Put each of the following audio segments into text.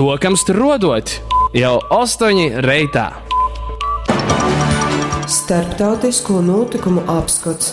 Suokam struoduot jau 8 reitā. Starptautisko notikumu apskots.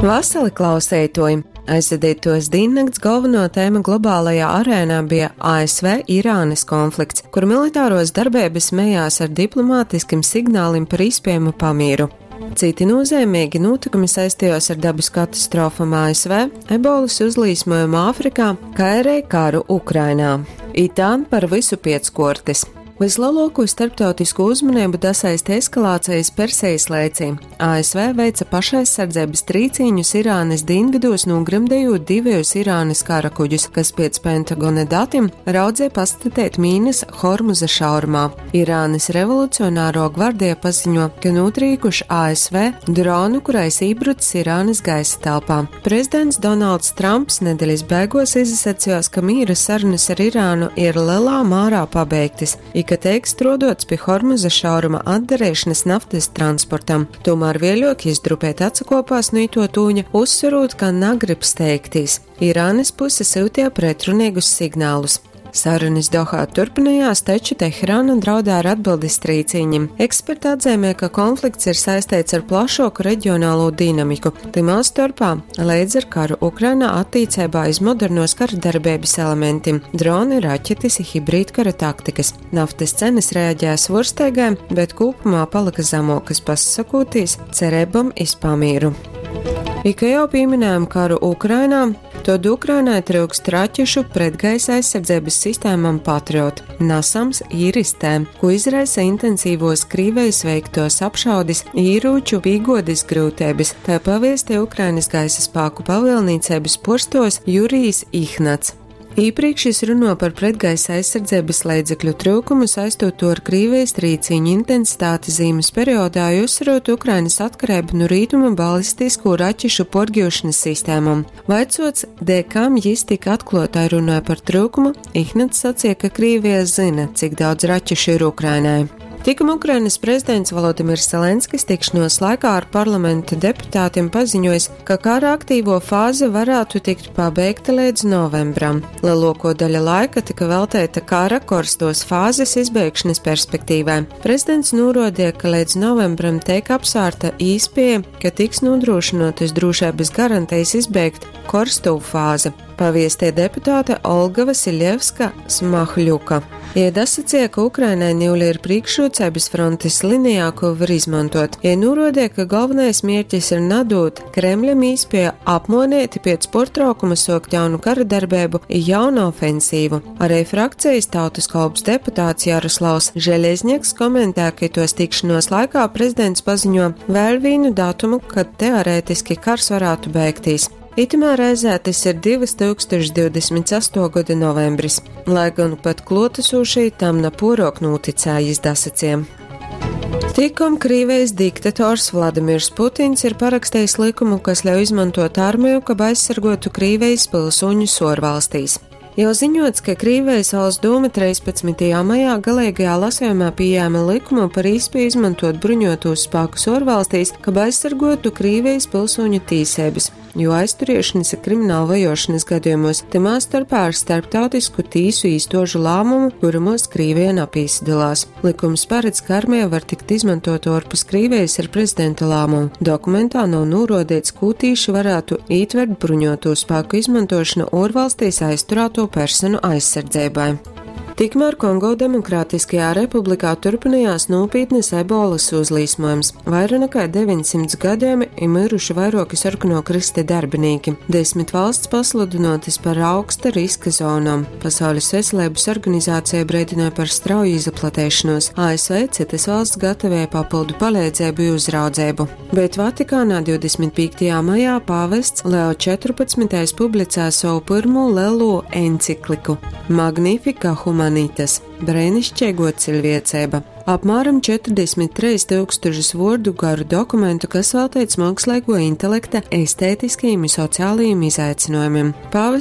Vasali klauseitoji! Aizvadītos dīnnakts galveno tēma globālajā arēnā bija ASV-Irānas konflikts, kur militāros darbības mejās ar diplomātiskim signālim par iespējamu pamieru. Citi nozīmīgi notikumi saistījās ar dabas katastrofām ASV, ebolas uzlīsmojumu Āfrikā, kā arī karu Ukrainā. Itān par visu pieckortis. Vislielāko starptautisko uzmanību dasaista eskalācijas Persejas lēcī. ASV veica pašaizsardzības trīcīņus Irānas dienvidos, nogremdējot divus Irānas karakuģus, kas pēc Pentagona datiem raudzēja pastatēt mīnas Hormuza šaurumā. Irānas revolucionāro gvardija paziņo, ka notrīkuši ASV dronu, kurais iebrucis Irānas gaisa telpā. Prezidents Donalds Trumps nedēļas beigās izsacījās, ka mīra sarunas ar Irānu ir lielā mērā pabeigtas ka tiek strodots pie Hormuza šauruma atdarīšanas naftas transportam. Tomēr vēļok izdrupēt atsakopās no ito tūņa, uzsverot, ka nagrib steigtīs. Irānas puse sūtīja pretrunīgus signālus. Sarunas Dohā turpinājās, taču Teherāna draudē ar atbildes trīcīņiem. Eksperti atzīmē, ka konflikts ir saistīts ar plašāku reģionālo dinamiku. Timā starpā līdz ar karu Ukrainā attīcībā iz modernos kara darbības elementiem - droni, raķetes, hibrīdkara taktikas. Naftas cenas reaģēja svorsteigai, bet kopumā palika zemākas, pasakotīs cerībām iz pamieru. Ika jau pieminējām karu Ukrainā, tad Ukrainai trūkst raķešu pretgaisa aizsardzības sistēmām Patriot, NASAMS Iris-T, ko izraisa intensīvos Krīvejas veiktos apšaudis, īrūču pīgodis grūtības. Tā paviestie Ukrainas gaisa spēku pavēlniecības porstos Jurijs Ihnats. Iepriekš jis runo par pretgaisa aizsardzības līdzekļu trūkumu, saistot to ar Krīvijas trīciņu intensitāti zīmes periodā, uzsverot Ukrainas atkarību no rītuma balistisko raķešu porģūšanas sistēmām. Vaicots, dēļ kam jis tik atklātai runāja par trūkumu, Ihnats sacīja, ka Krīvija zina, cik daudz raķešu ir Ukrainai. Tikam Ukrainas prezidents Volodimirs Zelenskis tikšanos laikā ar parlamenta deputātiem paziņojis, ka kara aktīvo fāze varētu tikt pabeigta līdz novembram. Lielāko daļu laika tika veltēta kara korstos fāzes izbeigšanas perspektīvai. Prezidents norādīja, ka līdz novembram tiek apsvērta īspēja, ka tiks nodrošinātas drošības garantijas izbeigt korsto fāzi. Paviestie deputāte Olga Vasiljevska Smahļuka. Iedasacīja, ka Ukrainai niuli ir priekšrocības frontes linijā, ko var izmantot. Ja norādīja, ka galvenais mērķis ir nadot Kremļam īspēju apmonēti pēc portraukuma sokt jaunu kara darbību i jaunu ofensīvu. Arī frakcijas tautas kalps deputāts Jaroslavs Žeļezņaks komentē, ka tos tikšanos laikā prezidents paziņo vēl vienu datumu, kad teorētiski kars varētu beigties. Itamā reizē tas ir 2028. Gada novembris, lai gan pat klotesošī tam na porok noticējis dasaciem. Tikom Krīvijas diktators Vladimirs Putins ir parakstījis likumu, kas ļauj izmantot armiju, kab aizsargotu Krīvijas pilsoņus orvalstīs. Jau ziņots, ka Krīvijas valsts doma 13. maijā galīgajā lasījumā pieņēma likumu par īspēju izmantot bruņotos spēkus orvalstīs, kab aizsargotu Krīvijas pilsoņu tīsības, jo aizturēšanas ir krimināla vajošanas gadījumos, tamā starpā ar starptautisku tīsu īstožu lēmumu, kuramos Krīvija napīsadalās. Likums paredz, ka armija var tikt izmantot ārpus Krīvijas ar prezidenta lēmumu. Dokumentā nav norādīts, ko tīši varētu ītvert bruņoto spēku izmantošanu orvalstīs aizturēto personu aizsardzībai. Tikmēr Kongo Demokrātiskajā republikā turpinājās nopietnas ebolas uzlīsmojums. Vairāk nekā 900 gadiem ir miruši vairāki sarkano krista darbinieki. 10 valsts pasludinotas par augsta riska zonām. Pasaules veselības organizācija brīdināja par strauju izplatēšanos. ASV citas valsts gatavoja papildu palīdzību un uzraudzību. Bet Vatikānā 25. maijā pāvests Leo 14. Publicēja savu pirmo lielo encikliku Magnifica Humanitas - brēnišķīgo cilvēcība. Apmēram 43 tūkstošus vārdu garu dokumentu, kas veltīts mākslīgo intelekta estētiskajiem un sociālajiem izaicinājumiem. Pāvests